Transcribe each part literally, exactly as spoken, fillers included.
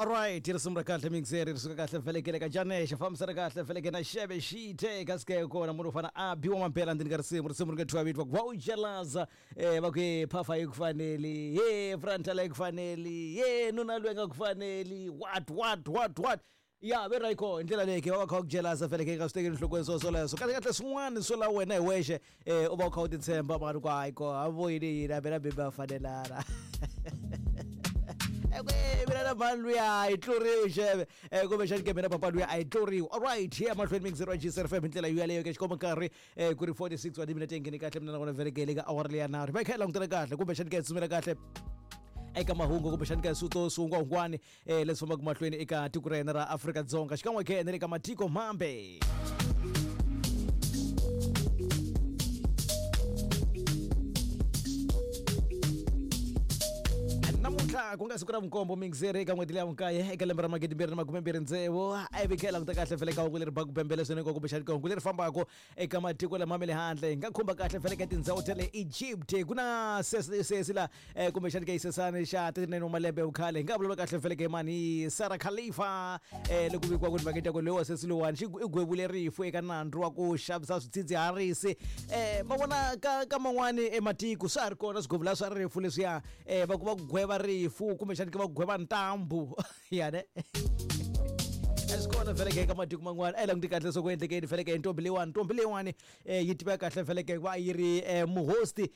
Alright, risimu ra kahle mixer ri suka kahle velekele ka Janesha fambisana kahle veleke na Xebe Xite kasi ke kona munhu u fana a biwa mampela ndzeni ka risimu risimu ri nga thyiwa vito va ku va u jelaza eh va ku he phafa yi ku faneli he frontal yi ku faneli he nuna loyi nga ku faneli what what what what ya ve ra ko hi ndlela leyi ke va va kha va ku jelaza veleke nga swi tekeli enhlokweni swo swoleswo kahle kahle swin'wana swo la wena hi wexe eh u va u kha u titshemba mara ku hayi ko a vo yini yini a mina bebe a fanelana mina na mhani luya a yi tluriwi xeve kumbexani ke mina papa luya a yi tluriwi alright here mahlweni mixer wa G S F M hi ndlela yaleyo ke xikomba nkarhi ku ri forty-six wa timinete ngheni kahle mina nakona velekele ka awara leya nharhu va kha hi langutela kahle kumbexani ke hi tsutsumela kahle eka mahungu kumbexani ka swito swihungwahungwani leswi fambaka mahlweni eka tiko ra hina ra Afrika-Dzonga xikan'we ke na le ka matiko mambe. Namuntlha ku nga siku ra vunkombo mixer eka n'hweti leya vunkaye eka lembe ra magidi mbirhi na makume mbirhi tsevu a vi kha hi languta kahle fele ka hungu leri baku bembele swinene kumbexani ka hungu leri fambaka eka matiko lama ma le handle hi nga khumba kahle fele ka tindhawu ta le Egypt ku na sesi sesi la kumbexani ka xisesani xa thirty-nine wa malembe ya vukhale hi nga vulavula kahle fele ka mani Sarah Khalifa loko vikiwa ku timhaka ta ku loyi wa sesi lowani xi i gwevule rifu eka nandzu wa ku xavisa swidzidziharisi ma vona ka ka man'wani ematiko swa ha ri kona swigwevula swa rifu leswiya va ku va ku gweva rifu kumbexani ke va gweva ntambu yane swi kona veleke eka matiko man'wana a yi languti kahle leswaku endlekeni veleke hi ntombi leyiwani ntombi leyiwani yi tiveka kahle veleke va yi ri muhosti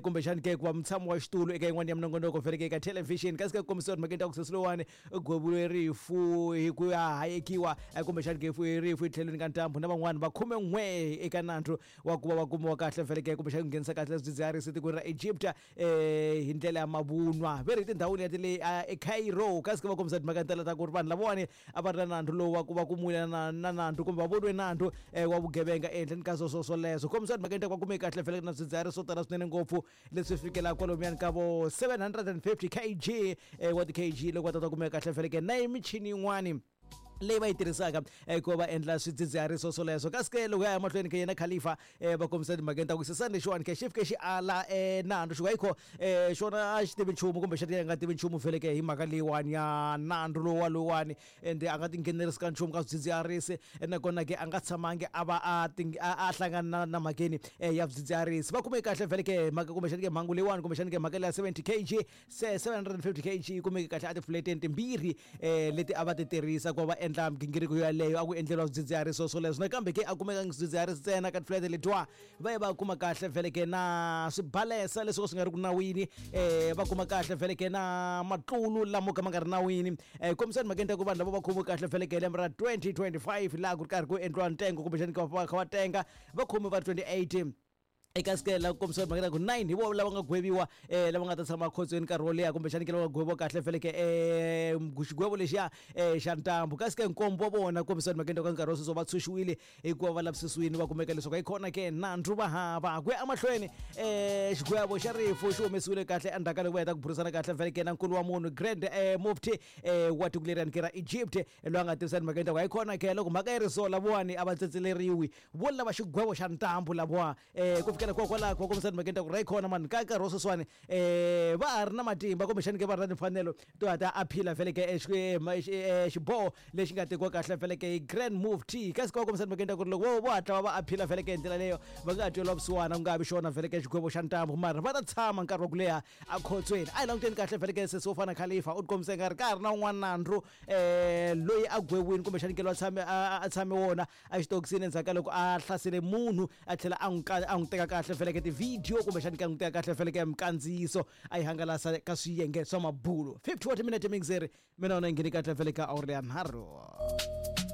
kumbexani ke ku va mutshami wa xitulu eka yin'wana ya minongonoko veleke eka television kasi ka kombisiwa timhakeni ta ku sesi lowani u gweviwe rifu hi ku ya hayekiwa kumbexani ke rifu etlhelweni ka ntambu na van'wani va khume n'we eka nandzu wa ku va va kumiwa kahle veleke kumbexani ku nghenisa kahle swidzidziharisi etikweni ra Egypt hi ndlela ya mavunwa ve ri tindhawini ya ti le eCairo kasi ke va kombisa timhaka tala ta ku ri vanhu lavawani a va ri na nandzu lowu wa ku va kumile na na nandzu kumbe va voniwe nandzu wa vugevenga ehenhleni ka sweswo swoleswo kombisa timhaka ta ku va kume kahle veleke na swidzidziharisi swo tala swinene ngopfu leswi fikelaka kwalomuyani ka vo seven hundred and fifty kg wa ti-kg loko va ta ta kumeka kahle veleke na michini yin'wani leyi va yi tirhisaka ku va endla swidzidziharisi swoleswo kasi ke loko ya ya mahlweni ka yena Khalifa va kombisa timhakeni ta ku sesani lexiwani ke xi fike xi ala nandzu xi ku ayikho xona a xi tivi nchumu kumbe xi nga tivi nchumu veleke hi mhaka leyiwani ya nandzu lowa lowuwani ende a nga tinghenelerisi ka nchumu ka swidzidziharisi nakona ke a nga tshamangi a va a a hlangana na mhakeni ya swidzidziharisi va kume kahle veleke mhaka kumbexani ke mhangu leyiwani kumbexani ke mhaka leya seventy kg se seven hundred and fifty kg yi kumeke kahle a tifuleteni timbirhi leti a va ti tirhisa ku va endla migingiriko yaleyo a ku endleriwa swidzidziharisi swoleswo nakambe ke a kumeka swidzidziharisi ntsena ka tifulete letiwa va ye va kuma kahle veleke na swibalesa leswi swi nga ri ku nawini um va kuma kahle veleke na matlulu lamo ka ma nga ri nawini um kombisani mhakeni ta ku vanhu lava va khomiwe kahle veleke hi lembe ra twenty twenty-five laha ku ri karhi ku endliwa ntengo kumbexani va kha va tenga va khomiwe va twenty-eight eka sikela ku kombisiwa timhaka ta ku nine hi vona lava nga gweviwa um lava nga ta tshama ekhotsweni nkarhi wo leha kumbexani ke lava nga gweviwa kahle veleke um xigwevo lexiya um xa ntambu kasi ke nkombo wa vona kombisiwa timhakeni ta ka nkarhi wa sweswo va tshunxiwile hikuva va lavisisiwile va kumeka leswaku yi kona ke nandzu va hava ku ya emahlweni um xigwevo xa rifu xi humesiwile kahle endzhaku ka loko va heta ku burisana kahle veleke na nkulu wa munhu Grand Mufti um wa tiko leriyani ke ra Egypt loyi a nga tivisa timhakeni ta ku hayi kona ke loko mhaka yi ri so lavawani a va tsetseleriwi vo lava xigwevo xa ntambu lavawa um ku fikela kwalaho ku kombisa timhakeni ta ku ri khona mani ka nkarhi wa sweswiwani um va ha ri na matimba kumbexani ke va ri na timfanelo to ha ta aphila veleke xiboho lexi nga tekiwa kahle veleke hi Grand Mufti kasi ka va kombisa timhakeni ta ku ri loko vo hatla va va aphila veleke hi ndlela leyo va nga ha tweliwa vusiwana ku nga vi xona veleke xigwevo xa ntambu mara va ta tshama nkarhi wa ku leha ekhotsweni a hi languteni kahle veleke sesi wo fana Khalifa u tikombisa nga ri ka ha ri na un'wana nandzu um loyi a gweviwini kumbexani ke loyi a tshame a tshame wona exitokisini endzhaku ka loko a hlasele munhu a tlhela a n'wi a n'wi teka kahle veleke ti-video kumbexani ka n'wi teka kahle veleke minkandziyiso a yi hangalasa ka swiyenge swa mabulo fifty wa timinete mixer mina wona yi ngheni kahle veleke awuri ya nharhu.